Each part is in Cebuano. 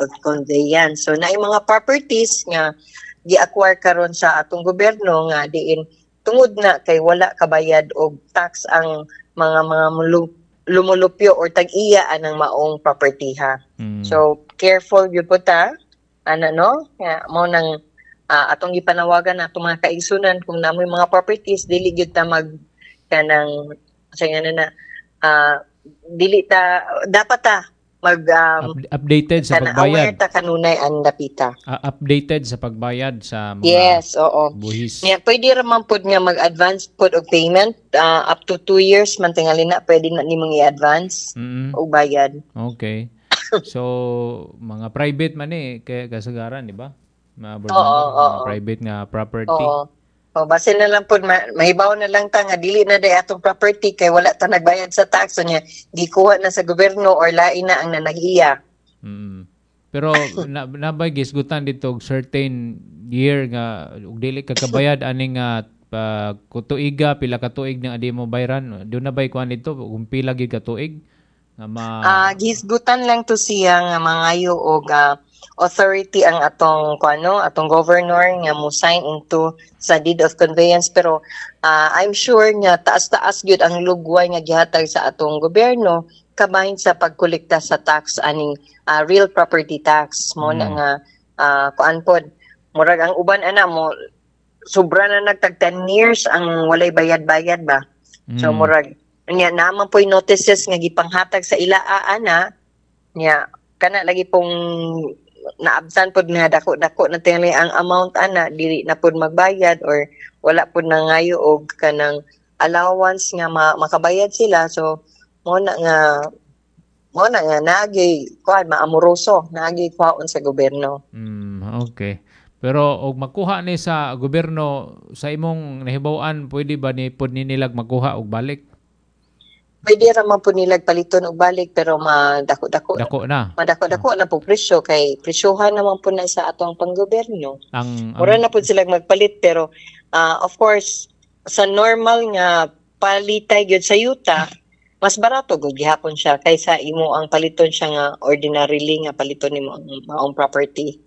of conveyance. So naay mga properties nga gi-acquire karon sa atong gobyerno nga diin tungod na kay wala kabayad og tax ang mga lumulupyo or tag-iya anang maong property ha. So careful gyud po ta ana, no? Nga mao nang atong gipanawagan atong mga kaigsunan, kung namoy mga properties, dili gyud ta mag kanang sa nga na dili ta, dapat ta mag Updated sa kana aware pagbayad. Ta kanunay ang dapita. Updated sa pagbayad sa mga Yes, oo. buhis. Nya pwede ra man pud nga mag-advance pud og payment, up to 2 years man tingali na pwede na nimong i-advance og bayad. Okay. So, mga private man eh, kaya kasagaran, di ba? Mga board Oo, member, mga oo. Private nga property. Oo. O basin na lang pud mahibaw na lang ta nga dili na day atong property kay wala ta nagbayad sa tax, so nya gikuha na sa gobyerno or lain na ang nanag-iya. Pero na nabay gisgutan dito og certain year nga ug dili ka kabayad ani nga pa kutuiga, pila ka tuig nga di mo bayran, do na bay kuan dito kung pila gid ka tuig nga ma Gisgutan lang to siya nga mangayo og authority ang atong kuano, atong governor nga mo sign into sa deed of conveyance, pero I'm sure nga taas-taas gyud ang lugway nga gihatag sa atong gobyerno kabahin sa pagkolekta sa tax aning real property tax mo na nga kuan pod, murag ang uban ana mo sobra na nagtag 10 years ang walay bayad-bayad ba. So murag nya naman po'y notices nga gipanghatag sa ila ana nya kana lagi pong naabsan pod nga dako-dako na tingali ang amount ana, dili na pod magbayad or wala pod nangayo og kanang allowance nga makabayad sila. So mo na nga naagi kuan, maamoroso, naagi kuhaon sa gobyerno. Okay. Pero og makuha ni sa gobyerno, sa imong nahibaw-an, pwede ba ni pod ni nilag makuha og balik? Pwede ra man pud nilag paliton og balik, pero madako-dako Dako na. Madako-dako na po presyo kay presyohan naman po na sa atong panggobyerno. Ang Mura na pud sila magpalit, pero of course sa normal nga palitay gyud sa yuta, mas barato gud gihapon siya kaysa imo ang paliton siya nga ordinarily nga paliton nimo ang maong property.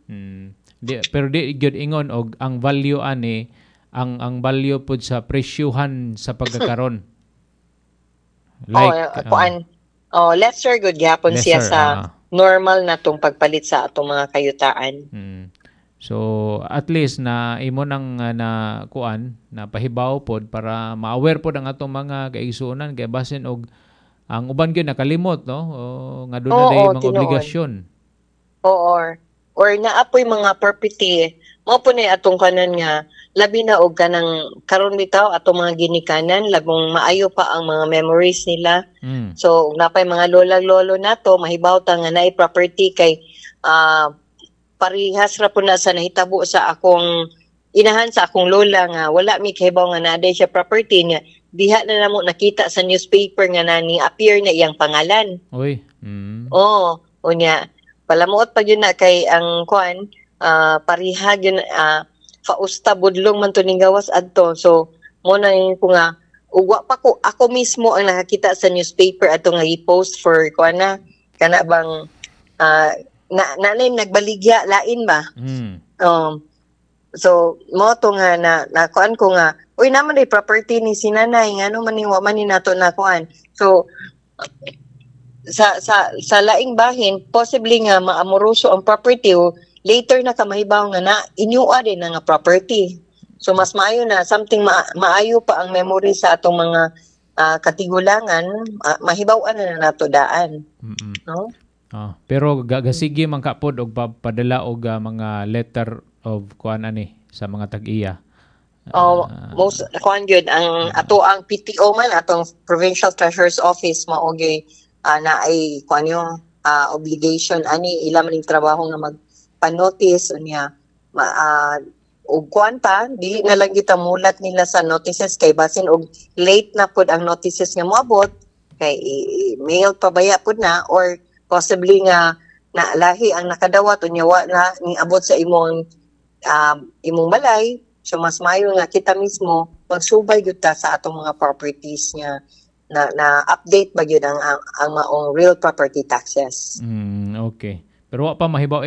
Di, pero di gyud ingon og ang value ani, ang value pud sa presyuhan sa pagkakaron. Like, oh, kuan, oh, lesser gud gihapon siya lesser, sa normal na tong pagpalit sa atong mga kayutaan. So at least na imo nang na kuan na pahibaw pod para ma-aware pod ang atong mga kaigsuonan kay basin og ang uban gyud nakalimot, no, o, nga doon na Oo, day mga tinuod. Obligasyon. Oo, or naapoy mga property mao po ni atong kanan nga labi na og kanang karon bitaw atong mga ginikanan, labong maayo pa ang mga memories nila. So ug napay mga lola lolo nato, mahibaw ta nga naay property kay parihas ra po na sa nahitabo sa akong inahan, sa akong lola, nga wala mi kahibaw nga naa siya property niya. Diha na namo nakita sa newspaper nga nani appear na iyang pangalan. Uy. Oo, unya palamuot pa gyud na kay ang kuan, pariha gyud, Fausta Budlong man to ning gawas adto. So mo na yun ko nga ugwa pa ko, ako mismo ang nakakita sa newspaper ato nga i-post for kuan na kana bang na nanay nagbaligya lain ba. So mo to nga na nakuan ko nga, uy, naman ay property ni si nanay, ngano man ni wa man ni nato na kuan. So sa laing bahin, possibly nga maamoroso ang property o later na ka mahibaw nga na inyua din na nga property. So mas maayo na something maayo pa ang memory sa atong mga katigulangan, mahibaw-an na nato daan, no? Ah, pero gasige man ka pod og padala og mga letter of kuan ani sa mga tag-iya. Oh, most kuan gyud ang ato ang PTO man, atong Provincial Treasurer's Office, mao gyud na ay kuan yung obligation ani, ila man ning trabaho nga magpa-notice unya ma, og kuan pa, dili na lang kita mulat nila sa notices kay basin og late na pud ang notices nga moabot kay mail pa baya pud na or possibly nga na lahi ang nakadawat unya wa na niabot sa imong balay. So mas maayo nga kita mismo magsubay gyud ta sa atong mga properties nga na update ba gyud ang maong real property taxes. Okay. Pero wa pa mahibaw.